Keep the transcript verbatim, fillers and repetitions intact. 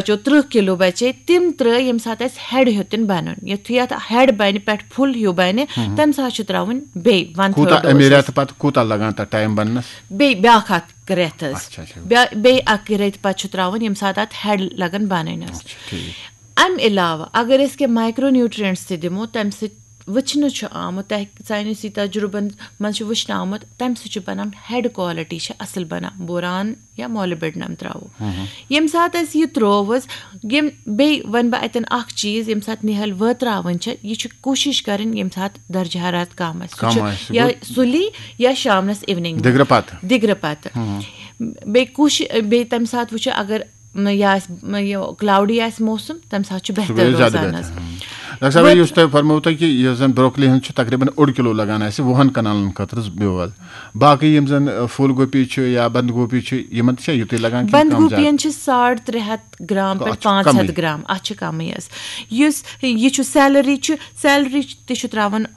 جو ترٕٛہ کِلوٗ بَچے، تِم ترٛٲے ییٚمہِ ساتہٕ اَسہِ ہیڈ ہیوٚتُن بَنُن۔ یُتھُے اَتھ ہیڈ بَنہِ، پٮ۪ٹھ فُل ہیوٗ بَنہِ، تَمہِ ساتہٕ چھِ ترٛاوٕنۍ بیٚیہِ وَن تھٲرڈ کوٗتاہ ڈوز۔ اَمہِ رٮ۪تہٕ پَتہٕ کوٗتاہ لَگان تَتھ ٹایم بَننَس؟ بیٚیہِ بیٛاکھ اَکھ رٮ۪تھ حظ۔ اچھا، اچھا۔ بیا-، بیٚیہِ اَکہِ رٮ۪تہٕ پَتہٕ چھُ ترٛاوُن، ییٚمہِ ساتہٕ اَتھ ہیڈ لَگان بَنٕنۍ حظ۔ اچھا، ٹھیٖک۔ اَمہِ علاوٕ اگر أسۍ کینٛہہ مایکرو نیوٹرینٹس تہِ دِمو، تَمہِ سۭتۍ وٕچھنہٕ چھُ آمُت، تۄہہِ ساینسی تجرُبن منٛز چھُ وٕچھنہٕ آمُت، تَمہِ سۭتۍ چھُ بَنان ہیڈ کوالٹی چھِ اَصٕل بَنان، بوران یا مولِبڈنم ترٛاوو۔ ییٚمہِ ساتہٕ اَسہِ یہِ ترٛوو حظ، یِم بیٚیہِ وَنہٕ بہٕ اَتٮ۪ن اَکھ چیٖز، ییٚمہِ ساتہٕ نِہٲلۍ وٲتراوٕنۍ چھِ، یہِ چھِ کوٗشِش کَرٕنۍ ییٚمہِ ساتہٕ درجہ حرارت کَم آسہِ، سُہ کَم چھُ آسہِ، یا گوٚو؟ سُلی یا شامنَس اِونِنگ دِگرٕ پَتہٕ۔ دِگرٕ پَتہٕ۔ بیٚیہِ کوٗشِش، بیٚیہِ تَمہِ ساتہٕ وٕچھو اگر نہ، یہِ آسہِ، یہِ کلاوڈی آسہِ موسم، تَمہِ ساتہٕ چھُ سُہ بہتر گوٚو زیادٕ روزان بہتر۔ حظ۔ ہاں۔ ڈاکٹر صٲب، وۄنۍ یُس تۄہہِ فرموو تۄہہِ کہِ یُس زَن بروکلی ہُنٛد چھُ تقریباً اوٚڑ کِلوٗ لَگان اَسہِ وُہَن کَنالَن خٲطرٕ بیول، باقٕے یِم زَن، ٲ، پھوٗل گوپی چھُ یا بنٛد گوپی چھُ، یِمَن تہِ چھا یُتُے لَگان کِنہٕ کَم زیادٕ؟ بنٛدگوپیَن چھِ ساڑ ترٛےٚ ہَتھ گرٛام گوٚو، پٮ۪ٹھ اَتھ چھُ پانٛژھ ہَتھ کَمٕے۔ گرٛام، اَتھ چھِ کَمٕے حظ۔ یُس یہِ چھُ سیلری چھُ، سیلری تہِ چھُ ترٛاوان